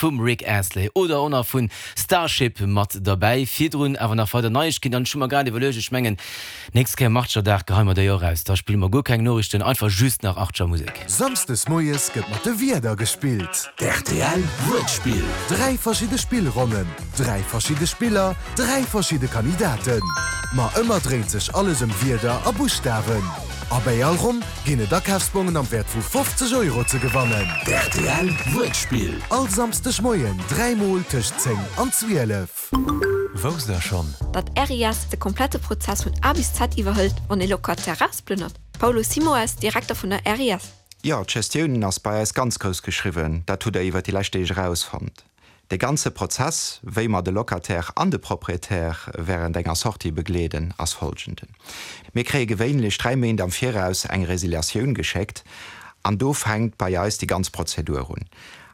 vum Rick Astley oder och nach vun Starship mat derbäi. Virdrun awer nach weider Neiegkeeten an ech hu mer grad iwwerluecht, ech mengen nächst Kéier Martscherdag geheie mer déi och raus, da spille mer guer keng Noriichten, einfach just nach Archer Musek. Samsdes moies gëtt mat de Wierder gespillt. D'RTL Wuertspill. 3 verschidde Spillronnen, 3 verschidde Spiller, 3 verschidde Kandidaten. Ma ëmmer dréint sech alles ëm Wierder a Buschtawen. A bäi all Ronn ginn et Akafsbongen am Wäert vu 50 Euro ze gewannen. D'RTL Wuertspill. All Samsdeg Moien 3 mol tëscht 10 an 12. Wousst der schonn? Datt RIS de komplette Prozess vun A bis Z iwwerhëlt, wann ee Locataire erausplënnert? Paulo Simoes, Direkter vun der RIS. Jo, d'Gestioun ass bei eis ganz grouss geschriwwen. Dat hutt Der iwwer déi lescht Deeg erausfonnt. De ganze Prozess, wéi mer de Locataire an de Propriétaire während enger Sortie begleeden, ass folgenden. Mir kréie gewéinlech 3 Méint am Viraus eng Resiliatioun geschéckt an do fänkt bei eis déi ganz Prozedur un.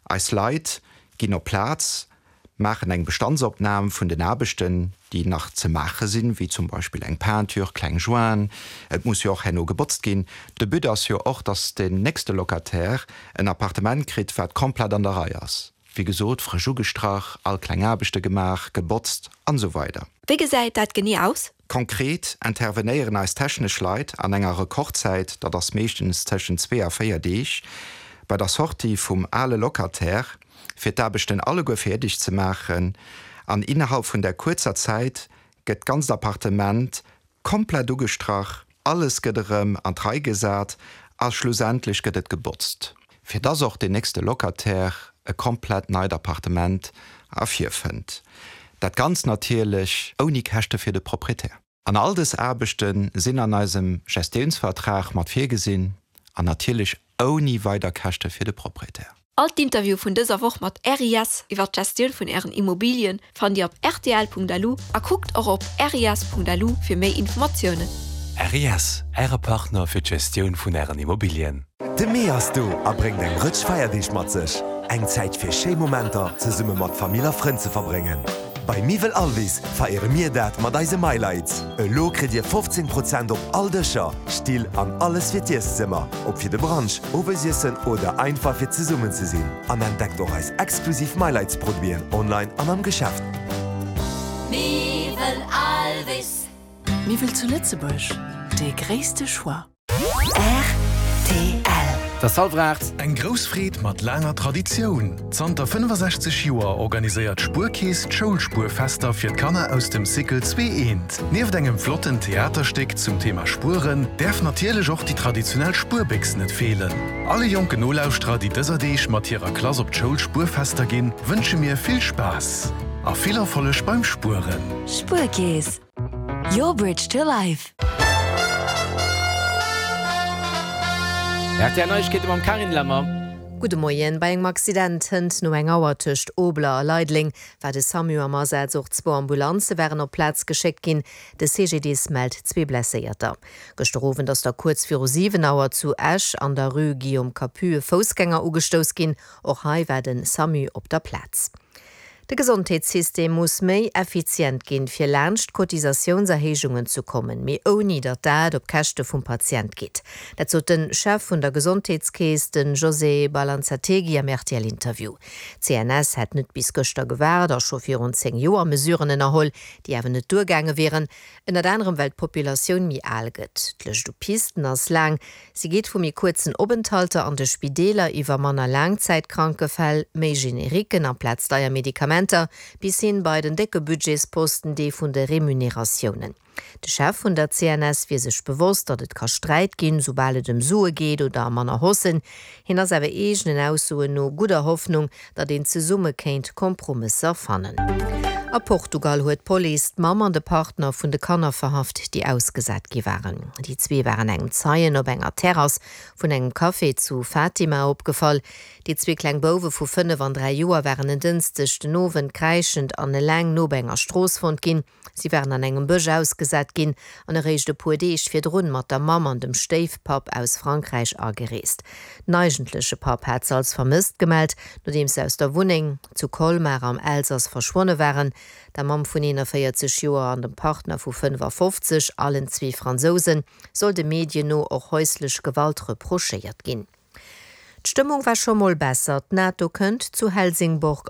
Eis Leit ginn op d'Plaz, maachen eng Bestandsopnam vun den Aarbechten, déi nach ze maache sinn, wéi zum Beispill eng Peinture, kleng Jointen, et muss jo och herno gebotzt ginn. De But ass jo och, dass den nächste Locataire en Appartement kritt, wat komplett an der Rei ass. Wéi gesot, frësch ugestrach, all kleng Aarbechte gemaach, gebotzt an esou weider. Wéi gesäit dat genee aus? Konkret intervenéieren eis technesch Leit an enger Rekordzäit, dat ass meeschtens tëschent zwee a véier Deeg, bei der Sortie vum ale Locataire, fir d'Aarbechten alleguer fäerdeg ze maachen an innerhalb vun där kuerzer Zäit gëtt d'ganzt Appartement komplett ugestrach, alles gëtt erëm an d'Rei gesat a schlussendlech gëtt et gebotzt, fir dass och deen nächste Locataire e komplett neit Appartement ervirfënnt. Dat Ganzt natierlech ouni Käschte fir de Proprietär. An all dës Aarbechte sinn an eisem Gestiounsvertrag mat virgesinn an natierlech ouni weider Käschte fir de Proprietär. All d'Interviewe vun dëser Woch mat RIS iwwer d'Gestioun vun ären Immobilien fannt Dir op rtl.lu a kuckt och op ris.lu fir méi Informatiounen. RIS, Äre Partner fir d'Gestioun vun Ären Immobilien. De Mee ass do a bréngt eng Rëtsch Feierdeeg mat sech. Eng Zäit fir schéi Momenter zesumme mat Famill a Frënn ze verbréngen. Bei Miwwel Alvis feiere mir dat mat eise Mylights. Elo kritt Dir 15 Prozent op all Dëscher, Still an alles fir d'Ieszëmmer, ob fir de Brunch, Owesiessen oder einfach fir zesummen ze sinn. An entdeckt och eis exklusiv Mylights Produiten online an am Geschäft. Miwwel Alvis. Miwwel zu Lëtzebuerg, dee gréisste Choix. Rtl. Et ass hallwer 8. Eng grouss Freed mat laanger Traditioun! Zanter 65 Joer organiséiert d'Spuerkeess d'Schoulspuerfester fir d'Kanner aus dem Cycle 2 I. Nieft engem flotten Theaterstéck zum Thema Spueren, däerf natierlech och déi traditionell Spuerbéchs net feelen. Alle jonken Nolauschterer, déi dëser Deeg mat hirer Klass op d'Schoulspuerfester ginn, wënsche mir vill Spaass a vill Erfolleg beim Spueren! Spuerkeess. Your bridge to life. RTL Neiegkeete mam Carine Lemmer. Gudde Moien. Bei engem Accident hënt no eng Auer tëscht Obler a Leideleng war de Samu am Asaz. Och zwou Ambulanze waren op d'Plaz geschéckt ginn. De CGDIS mellt zwee Blesséierter. Gëschter Owend ass da kuerz viru 7 Auer zu Esch an der Rue Guillaume Capus e Foussgänger ugestouss ginn. Och hei war de Samu op der Plaz. De Gesondheetssystem muss méi effizient ginn, fir laanscht d'Cotisatiounserhéijungen ze kommen, mee ouni datt dat op Käschte vum Patient geet. Dat sot de Chef vun der Gesondheetskeess, de José Balanzategui am RTL-Interview. D'CNS hätt net bis gëschter gewaart a scho virun 10 Joer Mesuren ënnerholl, déi awer net duergaange wieren. Ënnert anerem well d'Populatioun méi al gëtt. D'Lëscht u Pisten ass laang. Si geet vu méi kuerzen Openthalter an de Spideeler iwwer manner Laangzäitkrankefäll, méi Generiquen amplaz deier Medikamenter, bis hin bei den décke Budgetsposten, dee vun de Remuneratiounen. De Chef vun der CNS wier sech bewosst, datt et ka Sträit ginn, soubal et ëm Sue geet oder manner Haussen. Hien ass awer eegenen Aussoen no gudder Hoffnung, datt een zesumme kéint Kompromësser fannen. A Portugal huet d'Police d'Mamm an de Partner vun de Kanner verhaft, déi ausgesat gi waren. Déi zwee waren engem Zeien op enger Terrass vun engem Café zu Fatima opgefall. Déi zwee kleng Bouwe vu 5 an 3 Joer waren en Dënschdeg den Owend kräischend an eleng no bei enger Strooss fonnt ginn. Si waren an engem Bësch ausgesat ginn an eréischt e puer Deeg virdrun mat der Mamm an dem Stéifpapp aus Frankräich agereest. Den eigentleche Papp hat se als vermësst gemellt, nodeems se aus der Wunneng zu Colmar am Elsass verschwonne waren. Der Mamm vun 41 Joer an dem Partner vu 55, allen zwee Fransousen, soll de Medien no och häuslech Gewalt reprochéiert ginn. D'Stëmmung war scho mol besser, D'NATO kënnt zu Helsingborg.